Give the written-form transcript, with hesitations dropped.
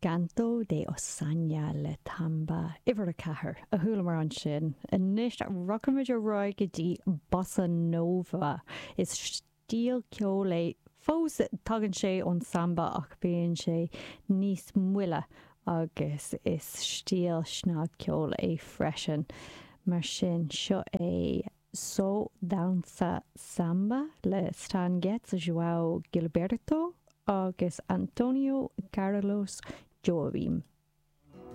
Canto de Ossanha le Tamba uimhir 4 a chualamar ansin. Anois rachaimid ar aghaidh go dtí Bossa Nova. Is stíl ceoil é fós, tagann sé ón samba ach bíonn sé níos moille agus is stíl snagcheoil é freisin. Mar sin, seo é Só Dança Samba le Stan Getz, João Gilberto agus Antonio Carlos Jobim.